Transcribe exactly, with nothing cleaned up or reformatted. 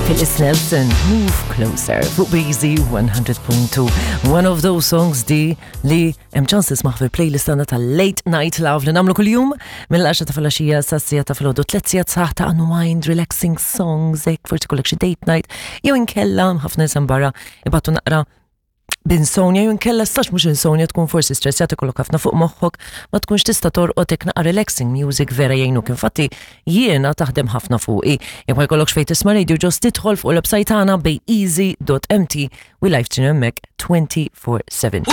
Phyllis Nelson, Move Closer, fuq B Z one hundred point two. One of those songs di li hemm ċans tisma' fil-playlist tagħna tal-Late Night Love li nagħmlu kuljum mill-għaxra ta' filgħaxija sas-siegħa ta' filgħodu, tliet sigħat sħaħ ta' unwind, relaxing songs, hekk forsi kollok xi date night, jew inkella ħafna nies barra ibatu naqra b'insomnia, jew inkella stax mhux insomnia, tkun forsi stressjat, ikollok ħafna fuq moħħok, ma tkunx tista' torqod, hekk naqra relaxing music vera jgħinuk. Infatti jiena taħdem ħafna fuqi. Jekk ma jkollokx fejn tisma' radio, just tidħol fuq il-website tagħna bayeasy dot M T, we live stream hemmhekk twenty-four seven.